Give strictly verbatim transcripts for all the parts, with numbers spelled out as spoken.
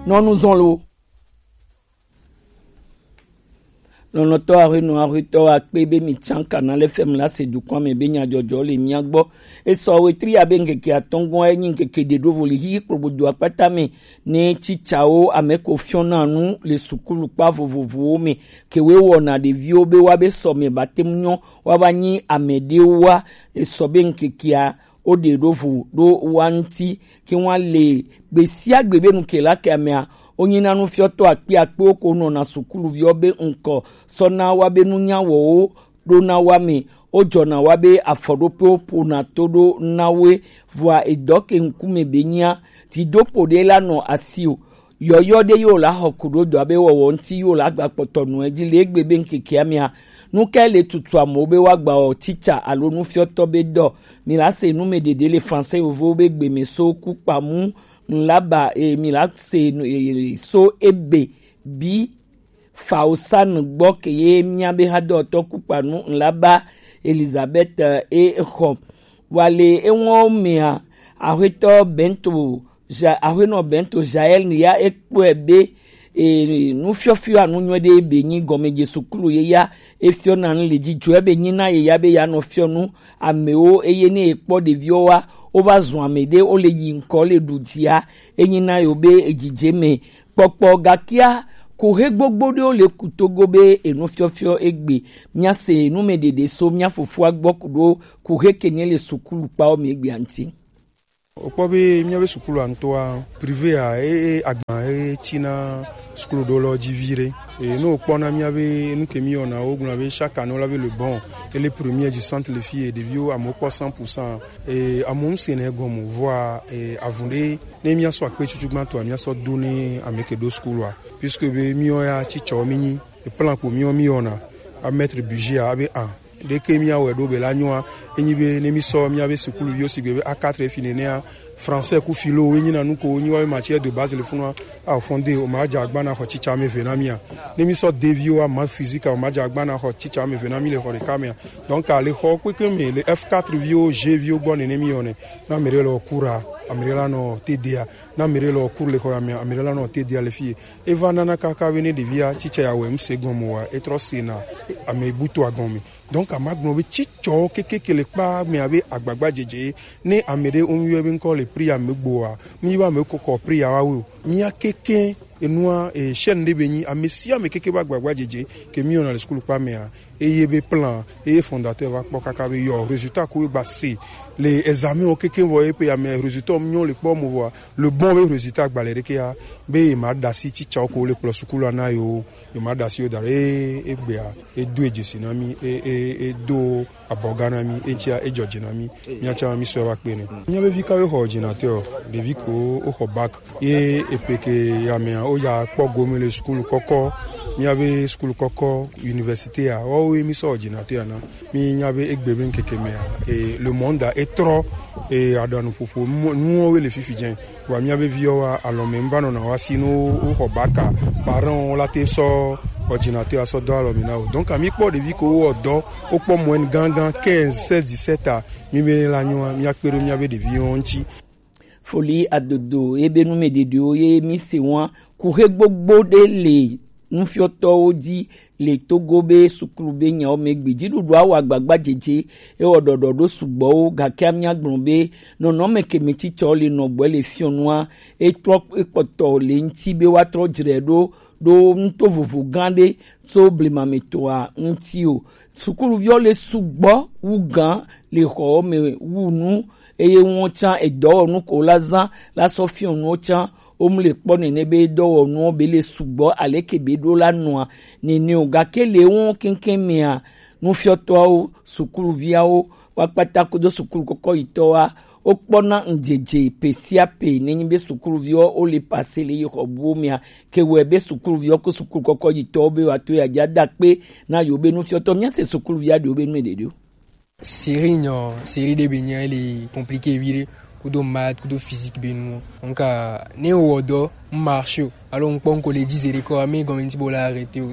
Nɔnuzɔnlo. Lɔlɔ̃tɔ ahuenɔ ahuetɔ akpe be mi tsã Canal F M la se dukɔa me be nyadzɔdzɔ le mia gbɔ. Esɔ wetri abe ŋkeke atɔ̃ gbɔ enyi ŋkeke ɖe ɖo vo le hihi kplogbodo akpata me ne tsitsawo ame ko fiɔna nu le sukulu kpa vovovowo me. Ke we wɔna ɖeviwo be wa be sɔ me ba te ŋu nyɔ wa va nyi ame ɖewo wa. Esɔ be ŋkekea wo ɖe ɖo vo ɖo wa ŋuti ke wa le gbe sia gbe be nu ke la ke amea wo nyina nufiɔtɔ akpe akpewo ko nɔna sukuluviwo be ŋkɔ sɔ na wa be nunya wɔwo ɖo na wa me wo dzɔna wa be afɔɖoƒewo ƒona to ɖo na woe. Vɔa edɔ ke ŋkume be nyia dzidoƒo ɖe la nɔ asi o. Yɔyɔ ɖe yewo la xɔ ku ɖo dɔa be wɔwɔ ŋuti yewo la gba kpɔtɔ nɔ edzi le egbe be ŋkekea mea nu kae le tutu amewo be woagba wɔ tsitsa alo nufiɔtɔ be dɔ. Mi la se nu me ɖeɖe le français yovowo be gbe me so ku kpamu ŋlaba e mi la se nu e so ebe bi faosan gbɔ ke ye mia be hadɔtɔ ku kpanu ŋlaba Elizabeth e xɔ. Wa le eŋɔ mea ahuetɔ bento ja ahuenɔ bento jael ya ekpɔe be e nufiɔfiɔ anu nyuie ɖe be nyi gɔmedze sukulu ye ya efiɔ na nu le dzidzɔe be nyi na ye ya be ya nɔ fiɔ nu amewo eye ne ekpɔ ɖeviwo wa wo va zun ame ɖe wo le yi ŋkɔ le ɖu dzia enyi na yo be edzidze me kpɔkpɔ gakia kuhe gbogbo ɖewo le kutogo be enufiɔfiɔ egbe mia se nu me ɖeɖe so mia fofoa gbɔ ku ɖo kuhe ke nye le sukulu kpawo me egbea ŋuti. Wokpɔ be míabe sukulu ŋutɔa, privé a, e, e, agba e tsina sukulu ɖo lɔ dzi vi ɖe. E, ne wokpɔna míabe nu ke míwɔna, wogblɔna be chaque année wola be le bon, ele premier du centre le fie, ɖeviwo amewo kpɔ cent pour cent. E, amewo ŋsena egɔme, vɔa, e, avu ɖe, ne míasɔ akpe tutu gbãtɔa, míasɔ do ne ame ke ɖo sukulua. Puisque be míwo ya tsitsɔwo mínyi, e plan ko míwo míwɔna, a mettre budget a, abe a. Ɖeke míawɔe ɖo be la nyoa, enyi be ne mísɔ míabe sukuluviwo sigbe be A quatre fi nenea, français ku philo wo enyina nu ko wo nyi woabe matière de base le funua, a fondé o ma dza agba na xɔ tsitsa ame eve na mía. Ne mísɔ deviwo a maths physique a o ma dza agba na xɔ tsitsa ame eve na mí le xɔ ɖeka mea. Donc a le xɔ kpekpe me le F quatre viwo, G viwo gbɔ nene míwɔnɛ. Na ame ɖe le cours a, ame ɖe la nɔ T D a. Na ame ɖe le cours le xɔ ya mea, ame ɖe la nɔ T D a le fie. Eva nana kaka be ne ɖevia tsitsa ya wɛ ŋse gɔme wa, etrɔ sena ame buto agɔme. Donc a ma gblɔ be tsitsɔ kekeke le kpa me abe agbagba dzedze ne ame ɖe wo yɔ be ŋkɔ le priya me gboa, mi va me ko xɔ priya wa wo. Mia keke enua e chaîne ɖe be nyi ame sia ame keke ba agbagba dzedze ke mi yɔna le sukulu kpa mea, eye be plan eye fondateur va kpɔ kaka be yɔ résultat ko gba se le examen o keke vɔ ye pe ame résultat nyɔ le kpɔ mo vɔa le bon be résultat gba le ɖekea be ye ma ɖasi tsitsawo ko le kplɔ sukulu ana yo. Yo ma ɖasi yo da ɖe e, egbea e do e dzesi na mi e, e, e do abɔga na mi e tia e dzɔdze na mi. Mia tsa mi sɔ va kpe ne. Mia be vi ka yo xɔ ordinateur, ɖevi ko o xɔ bac. Ye epe ke ya mea, o ya kpɔ gome le sukulu kɔkɔ, mia be sukulu kɔkɔ, université a, wa wo ye mi sɔ ordinateur na. Mi nya be egbe be ŋkeke mea, e, le monde a etrɔ, e, aɖanuƒoƒo nuwo le fifi dze. Wa mia be viwo wa alɔ me ŋva nɔna wa si no wo xɔ bac a, parent wo la te sɔ ordinateur a sɔ dɔ alɔ me na wo. Donc a mi kpɔ ɖevi ko wo dɔ, wo kpɔ moyenne gangan quinze, seize, dix-sept a, mi be la nyoa, mia kpe ɖo mia be ɖevi wo ŋuti. Foli adodo ebe nu me ɖeɖewo ye mi se wa kuxe gbogbo ɖe le nufiɔtɔwo dzi le Togo be sukulu be nyawo me gbe dziɖuɖua wɔ agbagba dzedze ewɔ ɖɔɖɔ ɖo sugbɔwo gake amia gblɔ be nɔnɔme ke me tsitsɔ le nɔgbɔe le fiɔnua ekplɔ ekpɔtɔ le ŋti be woatrɔ dzre ɖo ɖo nuto vovo gã ɖe tso blema me tɔa ŋti o. Sukuluviwo le sugbɔ wu gã le xɔwo me wu nu eye woawo tsã edɔwɔnu ko la zã la sɔ fiɔ nuwo tsã. Wo mu le kpɔ nene be dɔwɔnuwo be le sugbɔ aleke be ɖo la nɔa nene o gake le woawo keŋkeŋ mea nufiɔtɔawo sukuluviawo woakpata kudo sukulu kɔkɔ yitɔwoa wokpɔna ŋdzedze pe sia pe nenyi be sukuluviwo wo le pase le yi xɔ buwo mea ke wɔe be sukuluviwo ko sukulu kɔkɔ yitɔwo be woato ya dza da kpe na yewo be nufiɔtɔ mia se sukuluvia ɖewo be nu ɖeɖewo. Série nyɔ, série ɖe be nya le compliqué viɖe kudo maths kudo physique be nu. Donc ne wɔ dɔ n marche o alo n kpɔ n ko le dix heures kɔ ame gɔme ŋti bo la arrêté o.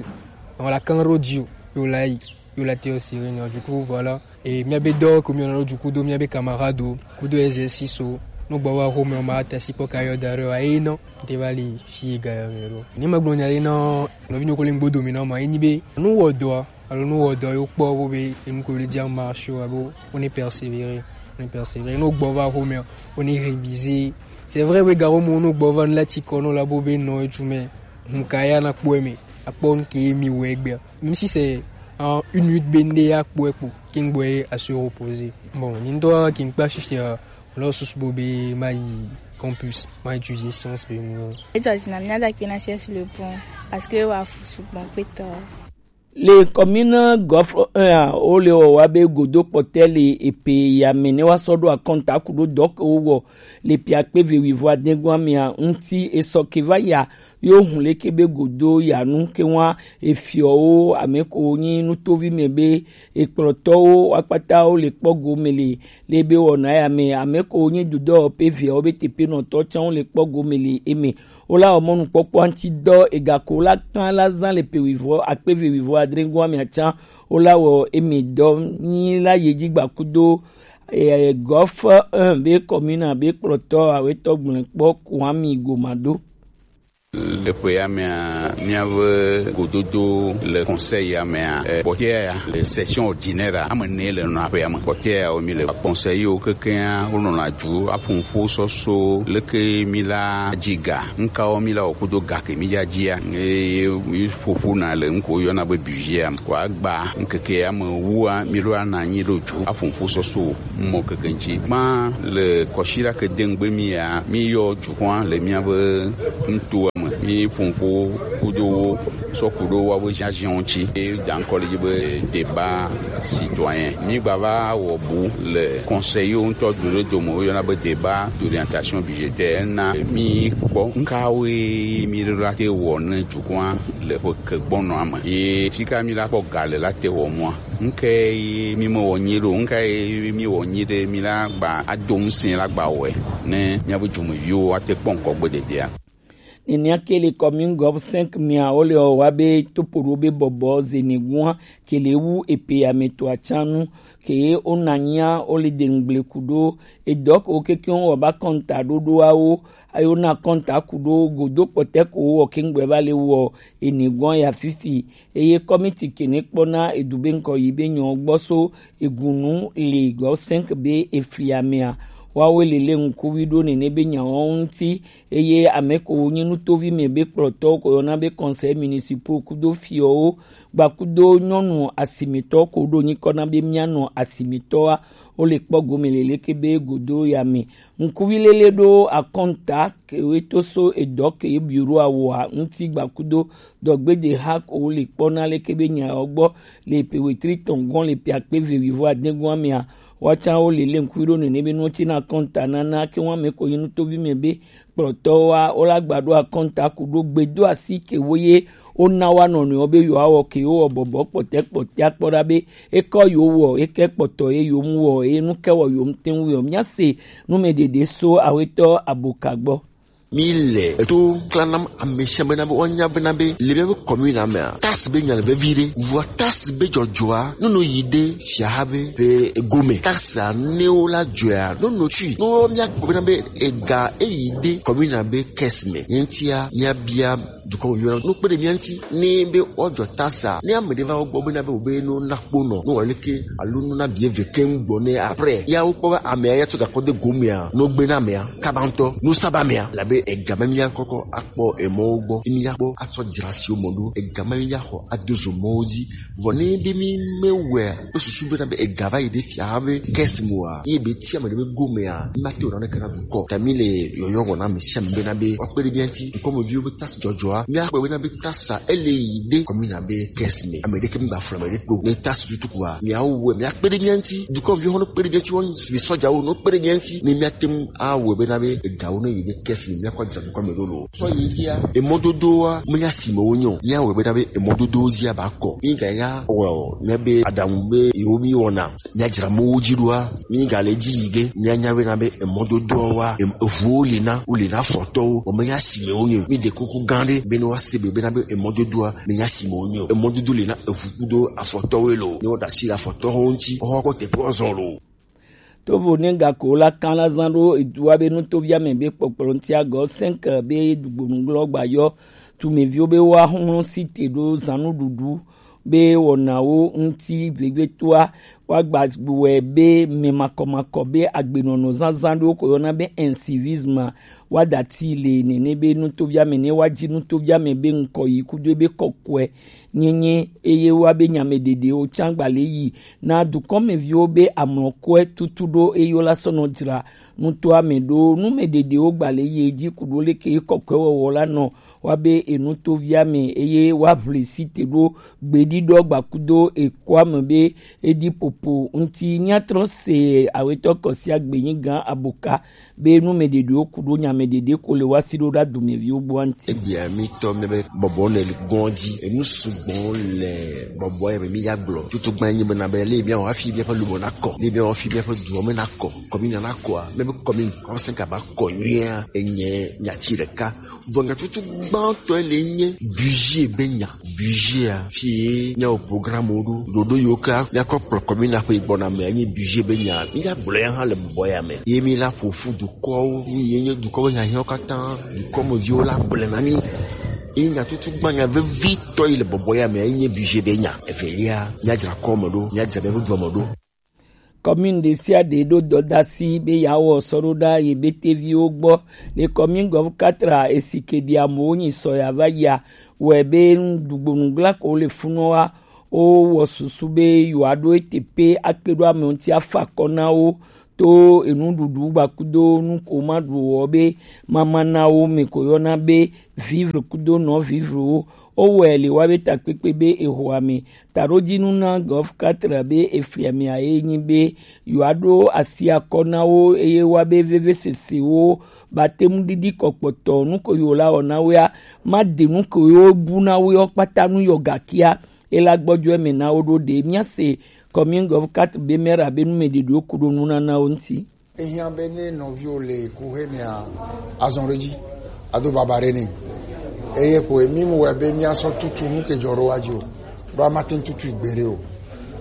Donc la kan ro di o yo la yi yo la te o série nyɔ du coup voilà. Et mia be dɔ ko mi ona lo du coup do mia be camarade o kudo exercice o. Nugbo va xɔme o, ma ta si kpɔ ka yɔ da ɖe o, ayi nɔ, te va li fi ga yɔ me ɖo. Ni ma gblɔ nya ɖe nɔ, nɔvi nɔ ko le gbodo mi nɔ ma, enyi be, nu wɔ dɔ, alo nu wɔ dɔ yo kpɔ bo be, enu ko le dia ma sho, abo, on est persévéré, on est persévéré. Nugbo va xɔme o, on est révisé. C'est vrai, we ga xɔme o, nugbo va la ti kɔ nɔ la bo be nɔ etu me, hun ka ya na kpɔ me, akpɔ nke mi we gbe. Même si c'est en une minute bende ya kpɔ ekpo, kin gbo à se reposer. Bon, ni ndo kin kpa fifi, euh, Lɔ susu bo be ma yi campus, ma étudier science be mu. Edzɔ dzi na mía ɖe akpe na C S le bon, parce que wa fu sugbɔ kpetɔ. Le commune Golfe un a, wo le wɔ wa be godo kpɔtɛ le epe ya me ne wa sɔ ɖo akɔnta ku ɖo dɔ ke wo wɔ le pia kpe ve wivo adegua mea ŋuti esɔ ke va ya yo hun leke be godo ya nu ke wa efiɔwo ame ko nyi nutovi me be ekplɔtɔwo akpata wo le kpɔ gome le le be wɔna ya me ame ko nyi dudɔ pe viawo be tepenɔtɔ tsã wo le kpɔ gome le eme. Wo la wɔ mɔnukpɔkpɔ ŋuti dɔ ega ko la kan la zan le pe wivɔ akpe ve wivɔ adre goa mea tsã wo la wɔ eme dɔ nyi la ye dzi gba kudo, eh, Golfe un be commune be kplɔtɔ awetɔ gblẽ kpɔ Kwame Gomado. Le ƒe ya mea, míaƒe gododo le conseil ya mea, eh, kpɔtɔea ya le session ordinaire ame ene le nɔna ƒe ya me. Kpɔtɔea ya wo mi le conseil yiwo kekeŋa wo nɔna dzu aƒo nuƒo sɔso leke mi la dzi ga, nukawo mi la wɔ kudo ga ke mi dza dzia, eye mi ƒoƒo na le nuko yɔna be budget ya me. Kɔ agba ŋkeke ya me wua mi ɖo ana anyi ɖo dzu aƒo nuƒo sɔso mɔ keke ŋuti. Gbã le kɔsiɖa ke de ŋgbe mi ya, mi yɔ dukɔa le míaƒe nutoa me. Mi ƒo nuƒo kudo wo sɔ ku ɖo woaƒe ziaziawo ŋuti. Ye da ŋkɔ le dzi be débat citoyen. Mi gba va wɔ bu le conseil yiwo ŋutɔ do ɖe dome, woyɔna be débat d'orientation budgétaire. Ena mi kpɔ nukawoe mi ɖo la te wɔ ne dukɔa le ƒe ke gbɔnɔa me. Ye fika mi la kpɔ ga le la te wɔ mɔa. Nuke ye mi me wɔ nyuie ɖo, nuka ye mi wɔ nyuie ɖe mi la gba ado ŋusẽ la gba wɔe ne míaƒe dumeviwo ate kpɔ ŋkɔ gbe dedea. Nenea ke le commune Golfe cinq mea, wo le wɔ wa be topoɖo be bɔbɔ zenegua ke le wu epe ame to atsã nu ke wo na nyia wo le de ŋgble ku ɖo edɔ ke wo kekeŋ wɔ ba kɔnta ɖoɖoawo ayo na kɔnta ku ɖo godo kpɔtɛ ko wɔ ke ŋgbe va le wɔ enegua ya fifi. Eye kɔmiti ke ne kpɔna edu be ŋkɔ yi be nyɔ gbɔ so egunu le Golfe cinq be efli amea, woawoe le le ŋkuvi ɖo nene be nyawo ŋuti. Eye ame ko wo nyi nutovi me be kplɔtɔwo ko yɔna be conseil municipal kudo fiɔwo gba kudo nyɔnu asimitɔ ko ɖo nyikɔ na be mianɔ asimitɔa, wo le kpɔ gome le leke be godo ya me. Ŋkuvi lele ɖo akɔnta ke we to so edɔ ke bureau awoa ŋuti gba kudo dɔgbede ha ko wo le kpɔ na leke be nyawo gbɔ le pe wetri tɔn gɔn le pe akpe ve wivo adegua mea, woatsã wo le le ŋkuvi ɖo nene be nuwo tsi na akɔnta nana ke wa me ko yi nutovi me be kplɔtɔwoa wo la gba ɖo akɔnta ku ɖo gbedo asi ke wo ye wo na wa nɔnɔewo be yewoa wɔ ke yewo wɔ bɔbɔ kpɔtɛ kpɔtɛ akpɔ ɖa be ekɔ yewo wɔ eke kpɔtɔ ye yewo mu wɔ eye nu ke wɔ yewo mu te ŋu wɔ. Mía se nu me ɖeɖe so awetɔ aboka gbɔ. Mi le eto klanam amesiame na be woanya bena be le míaƒe commune mea, taxe be nya le vevi ɖe. Vɔa taxe be dzɔdzɔa, ne no yi ɖe fiaha be ƒe gome. Taxe a ne wo la dzɔa, no no tui. No míakpɔ bena be ega eyi ɖe commune be caisse me. Ye ŋutia, míabia dukɔ me yɔna no kpe ɖe mía ŋuti. Ne be woadzɔ taxe a, ne ame ɖe va wo gbɔ bena be wo be no na kpo nɔ, no wɔ leke alo no na bie ve keŋ gbɔ ne après. Ya wo kpɔ be amea ya tsɔ gakɔ de gomea, no gbe na amea. Kaba ŋutɔ, nu saba mea, labe ega ma mía kɔkɔ akpɔ emɔwo gbɔ, fi mía kpɔ atsɔ dzra siwo mɔ ɖo, ega ma mía xɔ ado zo mɔwo dzi. Vɔ ne be mi me wɛ kple susu bena be ega va yi ɖe fia be kɛsi moa, ye be tia me ɖe be gomea, mi ma te wɔ naneke na dukɔ. Ta mi le yɔyɔ wɔ na mi sia mi bena be woakpe ɖe mía ŋuti, dukɔmeviwo be tasi dzɔdzɔa, mía kpɔe bena be tasa ele yi ɖe kɔmina be kɛsi me. Ame ɖeke mi gba flɔ ame ɖe kpo. Ne tasi tutu kua, mía wo wɛ, mía kpe ɖe mía ŋuti, dukɔmeviwo hã no kpe ɖe mía ŋuti, wo mi sɔjawo no kpe ɖe mía ŋuti, ne mía te ŋu awɔe bena be egawo ne yi ɖe kɛsi me, mía kɔ dzra dukɔ me ɖo lo. Sɔ yi fia, emɔdodowoa, menya si me wonye o. Míawɔe bena be emɔdodowo zia ba kɔ. Míganya wɔ o, míabe aɖaŋu be yewo míwɔna, míadzra mɔwo dzi ɖoa, mígale edzi yi ge, míanya bena be emɔdodoawoa, em-, eʋuwo li na, woli na afɔtɔwo, vɔ menya si me wonye o. Míɖe kuku gã ɖe be ne woase be bena be emɔdodoa, menya si me wonye o. Emɔdodo li na eʋu kudo afɔtɔwoe lo. Ne woɖe asi le afɔtɔwo ŋuti, woaxɔ kɔ teƒewo azɔ lo. Tovo ne gako la kan la zan ɖo edu wa be nutoviame be kpɔkplɔ ŋuti agɔ cinq be dugbonugblɔ gba yɔ tumeviwo be wa hlɔn site ɖo zannuɖuɖu be wɔnawo ŋuti vegbetoa wa gba wɛ be mɛ makɔmakɔ be agbenɔnɔ zanzan ɖewo ko yɔna be incivisme wa dati le nene be nutoviame ne wa ji nutoviame be ŋkɔ yi kudo be kɔkɔe nyenye eye wa be nyame ɖeɖewo can gba le yi na dukɔmeviwo be amlɔkɔe tutu ɖo eyo la sɔnɔ dzra nutoa me ɖo nume ɖeɖewo gba le yi edzi ku ɖo leke kɔkɔe wɔwɔ la nɔ wa be enutovia me eye wa ʋli site ɖo gbeɖiɖɔ gbakudo ekoa me be eɖi popo ŋuti. Míatrɔ se awetɔ kɔsia gbenyi gã aboka be nu me ɖeɖewo ku ɖo nya me ɖeɖe ko le wa si ɖo ɖa dumeviwo gbɔ ŋuti. Egbea mi tɔ mi be bɔbɔ ne gɔn dzi. Enu sugbɔ le bɔbɔ ya me mi ya gblɔ. Tutu gba nyi be na be le mi awa fi mi ƒe lumo na kɔ. Le mi awa fi mi ƒe duɔ me na kɔ. Kɔmi na na kɔa. Me be kɔmi kɔmi se ka ba kɔ nyuia. Enye nyatsi ɖeka. Vɔ nya tutu gbãtɔ le nye budget be nya. Budget a. Fi mi awo programme wo ɖo. Ɖoɖo yiwo ke mi akɔ kplɔ kɔmi na ƒe gbɔna me enye budget be nya. Mi ya gblɔ ya hã le bɔbɔ ya me. Ye mi la ƒo ƒu dukɔwo, mi ye nye dukɔwo hiahiãwo katã, dukɔmeviwo la gblɔe na mí. Ye nya tutu gbã nya vevitɔ yi le bɔbɔ ya me, ye nye budget be nya. Evelia, míadzra kɔme ɖo, míadzra míaƒe dua me ɖo. Commune ɖe sia ɖe ɖo dɔdasi be yeawɔ sɔɖoɖa ye be teviwo gbɔ. Le commune gɔv katra esi ke ɖi amewo nyi sɔ ya va yia, wɔe be nuɖugbonugblako le funɔa, wowɔ susu be yewoaɖo ete pe akpe ɖo ame ŋuti afa akɔ na wo to enuɖuɖu gbakudo nu ko ma ɖu wɔ be mama na wo me ko yɔna be vivre kudo non vivre wo. Wowɔe le wa be takpekpe be eho ame taɖodzinu na gɔf katra be efli amea ye nyi be yewoaɖo asi akɔ na wo eye wa be vevesesewo batemu ɖiɖi kɔkpɔtɔ nu ko yewo la wɔ na woea ma de nu ko yewo bu na wo yɔ kpata nu yɔ gakia. Ela gbɔjɔ eme na wo ɖo ɖe míase commune gɔv quatre be mera be numeɖeɖewo ku ɖo nunanawo ŋuti. Ehiã be ne nɔviwo le kuxe mea, azɔn ɖe dzi ado baba ɖe ne. Eye ko mi mu wɛ be míasɔ tutu nu ke dzɔ ɖo wa dzi o. Ɖo amate tutu gbeɖe o.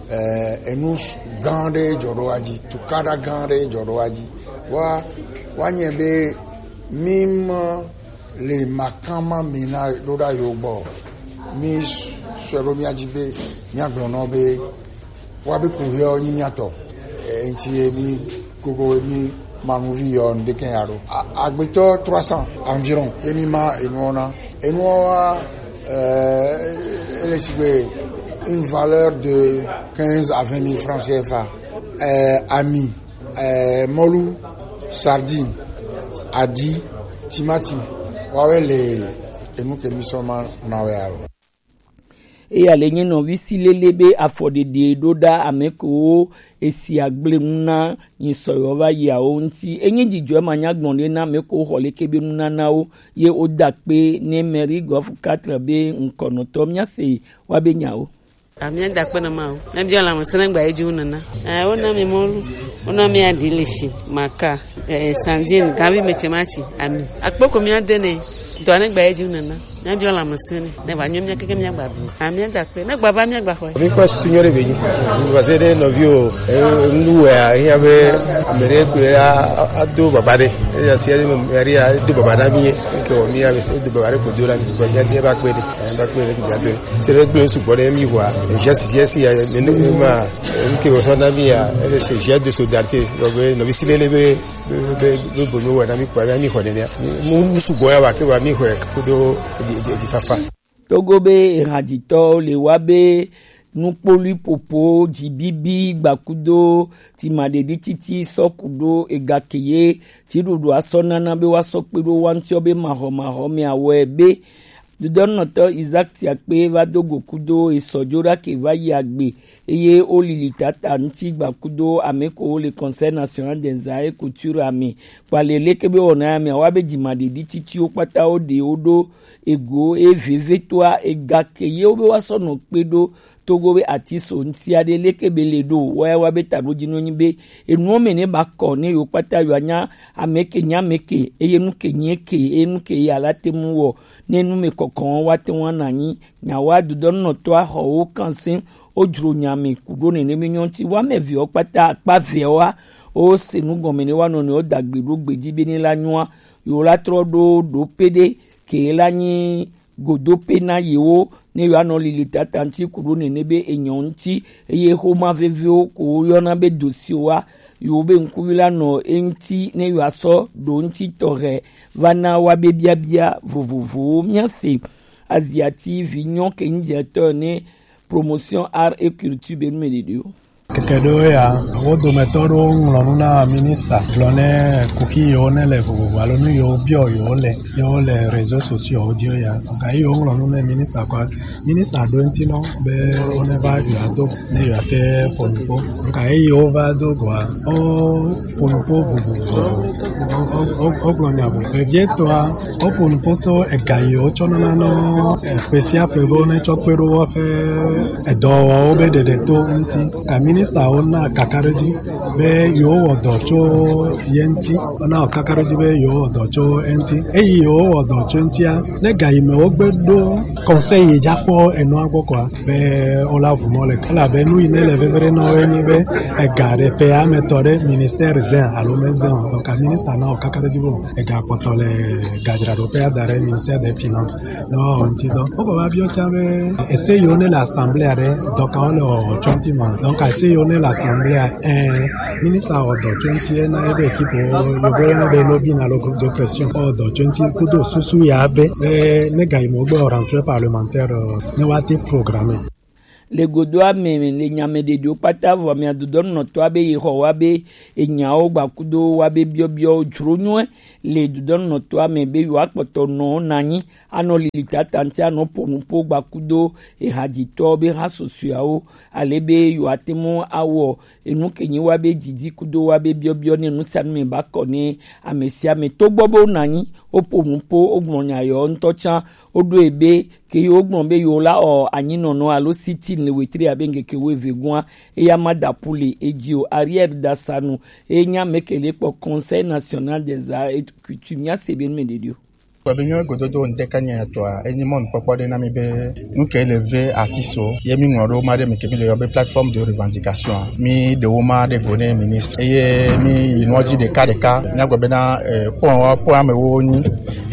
Eh, enu gã ɖe dzɔ ɖo wa dzi, tukaɖa gã ɖe dzɔ ɖo wa dzi. Wa wa nye be mi ma le makama mi na ɖo ɖa yo gbɔ. Mi sɔe ɖo mía dzi be mía gblɔ nɔ be wa be ku hiɔ nyi mía tɔ. E, ŋti ye mi gogo mi manuvi yɔ ŋdeke ya ɖo. A- agbetɔ trois cents environ ye mi ma enuɔ na. Enuɔ wa, euh, ele sigbe une valeur de quinze à vingt mille francs C F A. Euh, ami eh, mɔlu, sardine, adi, timati, wawe le enu ke mi sɔ ma na wɛ alo. Eya le nye nɔvi si lele be afɔɖeɖe ɖo ɖa ame kewo esi agble nu na nyi sɔyɔ va yi awo ŋuti. Enye dzidzɔ ma nya gblɔ ɖe na ame kewo xɔ leke be nunanawo ye woda kpe ne mairie gɔf quatre be ŋkɔnɔtɔ míase wa be nyawo. Amia da kpe na ma o. Ne biɔ lãmesẽ ne gba edzi wu nena. Eh, wona mi mɔlu, wona mi aɖi le shi, maka, eh, sandine, gavi metse matsi, ami. Akpoko mia de ne, dɔ ne gba edzi wu nena. Ne biɔ lãmesẽ ne, ne va nyɔ mia keke mia gba ɖu. Amia da kpe, ne gba va mia gba xɔe. Mi kpɔ susu nyɔ ɖe be dzi. Parce que ɖe nɔvi o, eh, nu wɛ a, eya be ame ɖe kpe a, a, ado baba ɖe. Eya si ame ɖe a, do baba na mi ye. Ke wɔ mi ya, do baba ɖe ko do na mi, ko mi ade ba kpe ɖe. Eh, ba kpe ɖe ko mi ade. Se ɖe gblẽ sugbɔ ɖe mi wa. Geste, geste ya, ne, ne, ma, ŋke wòsɔ na mi ya, ele se geste de solidarité. Donc, be, nɔvi si lele be, be, be, be, bo mi wɔ na mi kpɔ, be mi xɔ nenea. Mi, mu, mu sugbɔ ya wa, ke wa mi xɔe, kudo, di, di, di fafa. Togo be ehadzitɔwo le wa be nukpolui popo, dzibibi, gbakudo, timaɖeɖi titi, sɔkudo, egakeye, dziɖuɖu asɔ nana be woasɔ kpe ɖo wa ŋutiɔ be mahɔmahɔ me awɔe be Dodɔnɔtɔ Isaac Tiakpe va do go kudo esɔjo ɖake va yi agbe eye wo lili tata ŋuti gba kudo ame ko wo le Conseil National des Arts et Culture ame. Kpale leke be wɔna ya mea wa be dzimaɖeɖi titiwo kpata wo ɖe wo ɖo ego e veve toa ega ke ye wo be wa sɔ nɔ kpe ɖo Togo be ati so ŋuti aɖe leke be le ɖo wa ya wa be taɖodzinɔ nyi be enuwo me ne ba kɔ ne yewo kpata yewo anya ame ke nye ame ke eye nu ke nye ke eye nu ke ye ala te ŋu wɔ ne nu me kɔkɔ wa te ŋu ana nyi nya wa dodɔnɔtɔ axɔ wo kan se wo dzro nya me ku ɖo nene be nyɔ ŋuti wa me viwo kpata akpa veawa O se nu gɔme ne wa nɔ ne o dagbe ɖo gbeji be ne la nyua, yo la trɔ ɖo ɖo pe ɖe ke la nyi godo pe na yewo ne yo anɔ lili tata ŋuti ku ɖo nene be enyɔ ŋuti, eye xoma veviwo ko yɔna be dosiwo wa yo be ŋkuvi la nɔ eŋuti ne yo asɔ ɖo ŋuti tɔxɛ va na wa be biabia vovovowo. Mía se Aziati vi nyɔ ke ŋdzetɔ ne Promotion Art et Culture be nu me ɖeɖewo. Keke ɖewo ya, wo dometɔ ɖewo ŋlɔ nu na minista gblɔ ne kuki yewo ne le vovovo alo nu yewo biɔ yewo le yewo le réseaux sociaux dzi ya. Ga yi yewo ŋlɔ nu ne minista kɔ, minista ɖo ŋuti nɔ be wo ne va yewoa do ne yewoa te ƒo nu ƒo. Ga yi yewo va do goa, wo ƒo nu ƒo vovovo. Wo gblɔ nya vovovo. Vevietɔa, wo ƒo nu ƒo so ega yi wotsɔ nana nɔ ƒe sia ƒe be wo ne tsɔ kpe ɖo woƒe edɔwɔwɔwo be ɖeɖe to ŋuti. Ka ministawo na kakaɖedzi be yewo wɔ dɔ tso ye ŋuti. Wona wɔ kakaɖedzi be yewo wɔ dɔ tso eŋuti. Eyi yewo wɔ dɔ tso eŋutia, ne ga yi me wogbe ɖo conseil yi dza kpɔ enua gbɔ kɔa, be wola vu mɔ le. Elabe nu yi ne le vevere na wo enyi be ega ɖe ƒe ame tɔ ɖe ministère zɛn alo me zɛn o. Donc, ministre na wɔ kakaɖedzi be ega kpɔtɔ le gadzraɖoƒe ada ɖe ministère des finances. Ne woawɔ ŋuti dɔ. Wogba va biɔ tsã be ese yiwo ne le assemblée ɖe dɔ kawo le wɔwɔ tso ŋuti ma. Donc, ese yiwo ne le assemblée, eh, ministre wɔ dɔ tso ŋuti na ebe équipe wo, yovo yɔna be lobbying alo groupe de pression. Wɔ dɔ tso ŋuti kudo susu ya be, eh, ne ga yi me wogbe wɔ rentrée parlementaire, eh, ne woate programme. Le godoa me le nya me ɖeɖewo kpata vɔ mia dodɔnunɔtɔa be yi xɔ wa be enyawo gbakudo wa be biɔbiɔwo dzro nyuie le dodɔnunɔtɔa me be yewoa kpɔtɔ nɔ nanyi anɔ lili tata ŋuti anɔ ƒo nuƒo gbakudo ehadzitɔ be ha susɔeawo ale be yewoate ŋu awɔ enu ke nyi wa be didi kudo wa be biɔbiɔ ne nusianu me ba kɔ ne ame sia ame togbɔ be wonanyi woƒo nuƒo wogblɔ nya yewo ŋutɔ tsã woɖo ebe ke yi wogblɔ be yewo la ɔ anyinɔnɔ alo sitin le wetri abe ŋkeke wuieve gua eya ma da pu le edzi o. Ariel Dasanu eye nya mekele kpɔ Conseil National des Arts et Coutume mia se be nume ɖeɖi o. Kpɔ be míawo gododo ŋdeka nya tɔa enyi mɔnukpɔkpɔ ɖe na mi be nu ke le ve artiste ye mi ŋlɔ ɖo ma ɖe mi ke mi le yɔ be plateforme de revendication mi ɖewo ma ɖe go ne ministre eye mi yi nua dzi ɖeka ɖeka míagblɔ bena eh, point wa point amewo nyi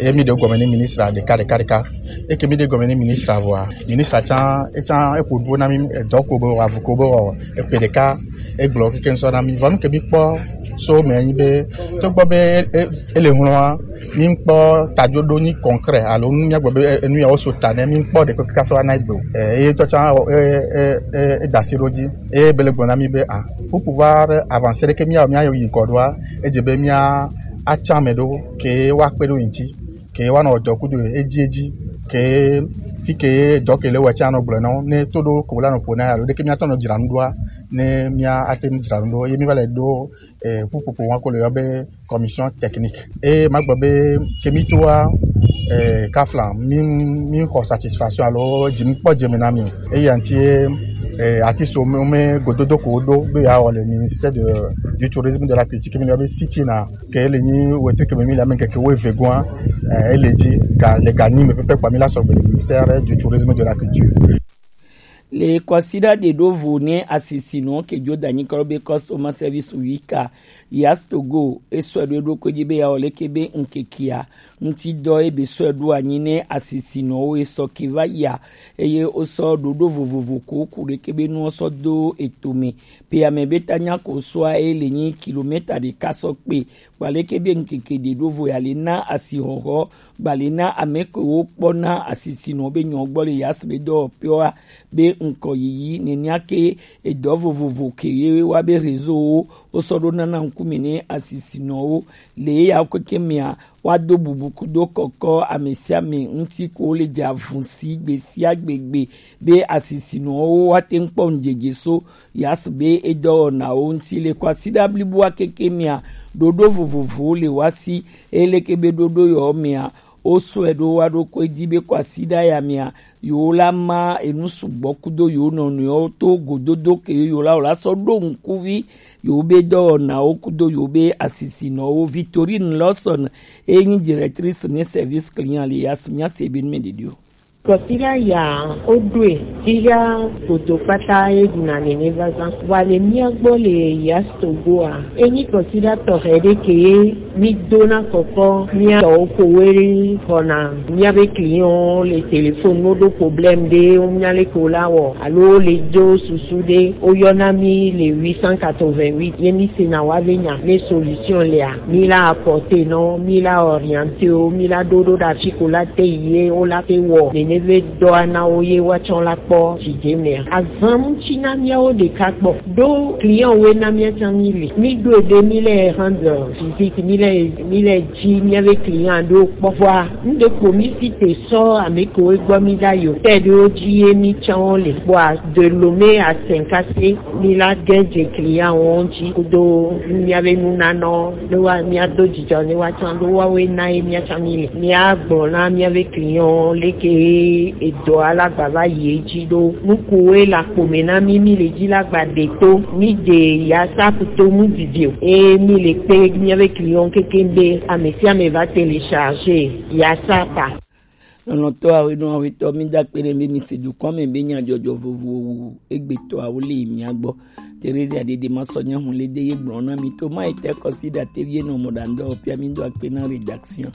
eye mi ɖe gɔme ne ministre ɖeka ɖeka ɖeka. Eke mi ɖe gɔme ne ministre vɔa, ministre tsã etsã eƒo nuƒo na mi edɔ ko be wɔ avu ko be wɔ eƒe ɖeka egblɔ keke ŋsɔ na mi. Vɔ nu ke mi kpɔ so me nyi be togbɔ be e- e- ele hlɔa mi kpɔ tajoɖo nyi concret alo nu mi agbe be enu ya wo so ta ne mi kpɔ ɖe keke kaso ana egbe o. Eh, eye tɔ tsã e- e- e- e da si ɖo dzi eye be le gblɔ na mi be ah pour pouvoir avancer ɖe ke mi ya mi ayi ŋkɔ ɖoa edze be mi a atsã me ɖo ke wa kpe ɖo ŋti ke woanɔ dɔ kudo edzi edzi ke fi ke dɔ ke le wɔ tsã nɔ gblɔ nɔ ne to ɖo ko la nɔ ƒo na alo ɖeke míatɔ nɔ dzra nu ɖoa ne mía ate nu dzra nu ɖo ye mi va le ɖo eh, ƒuƒoƒo wa ko le yɔ be commission technique eye magblɔ be ke mi toa eh, kafla mi mi xɔ satisfaction alo dzi mi kpɔ dze me na mi eye anti eh, ati so me gododo ko do be ya wɔ le ministère de du tourisme de la culture ke mi yɔ be city na ke ele nyi wetri ke me mi le ame keke wo eve goa eh, ele dzi ga le ga nyi me pepe kpa mi la sɔgbe le ministère du tourisme de la culture. Le kwasiɖa ɖe ɖo vo ne asisinɔ ke dzo da nyi kɔ be customer service wika yas togo esɔ ɖo ɖo ko dzi be ya wɔ leke be ŋkekea ŋti dɔ ebe sɔ ɖo anyi ne asisinɔwo esɔ ke va ya eye wosɔ ɖoɖo vovovo ko ku ɖeke be nuwo sɔ do etome pe ame be ta nya ko sɔa eye le nyi kilomita ɖeka sɔ kpe Gbaleke be ŋkeke ɖe ɖo vo ya le na asixɔxɔ gbale na ame kewo kpɔna asisinɔ be nyɔ gbɔ le yas be dɔwɔƒewoa be ŋkɔ yiyi nenia ke edɔ vovovo ke ye wa be réseau wo wosɔ ɖo nana ŋkume ne asisinɔwo le eya keke mea woado bubu kudo kɔkɔ ame sia ame ŋuti ko le dze avun si gbe sia gbe gbe be asisinɔwo woate ŋu kpɔ ŋdzedze so Yas be edɔwɔnawo ŋuti le kwasiɖa bliboa keke mea ɖoɖo vovovowo le wa si eye leke be ɖoɖo yewo mea wosɔe ɖo wa ɖo koe dzi be kwasiɖa ya mea yewo la ma enu sugbɔ kudo yewo nɔnɔewo to gododo ke yewo la wòla sɔ ɖo ŋkuvi yewo be dɔwɔnawo kudo yewo be asisinɔwo. Victorine Lawson eye nyi directrice ne service client le yas mia se be nume ɖeɖi o. Kɔsiɖa ya wo ɖoe tiga godo kpata ye ɖuna nene vazan. Wa le mía gbɔ le Yastogoa. Enyi kɔsiɖa tɔxɛ ɖe ke ye mi dona kɔkɔ mía tɔwo ko we ɖe xɔna mía be client le téléphone no ɖo problème ɖe wo mía le ko la wɔ alo le do susu ɖe wo yɔna mi le huit cent quatre-vingt-huit ye mi sena wa be nya ne solution lea mi la apporter nɔ mi la orienter wo mi la ɖo ɖo ɖe afi ko la te yi ye wo la te wɔ nene be dɔa na wo ye woatsɔ la kpɔ dzidze mea. Azan ŋuti na míawo ɖeka kpɔ. Ɖo client woe na míatsã míli. Míɖoe ɖe míle rendre visite, míle míle dzi míabe client ɖo kpɔ. Vɔa, ŋɖe kpo mí si te sɔ ame kewo gbɔ mí ɖa yo. Tɛ ɖewo dzi ye mítsã wo le. Vɔa, de Lomé à Saint-Cassé, mí la gɛ dze client wo ŋuti kudo míabe nunanɔ. Ne wa míado dzidzɔ ne wa tsã ɖo woawoe na ye míatsã míli. Míagblɔ na míabe client leke edɔ alagba va yi edzi ɖo. Nukuwoe le akpo me na mí, mí le dzi la gba ɖe to. Mí ɖe yasa kuto mu didi o. Eye mí le kpe míabe client keke be ame sia ame va télécharger yasa pa. Lɔlɔ̃tɔ awo enɔ awetɔ mi da kpe ɖe be mi se dukɔ me be nyadzɔdzɔ vovovo egbetɔ awo le mia gbɔ. Terezia Dede ma sɔ nya hun le de ye gblɔ na mi to ma ete kɔsi da te vie nɔ mɔ da ŋdɔ pia mi do akpe na rédaction.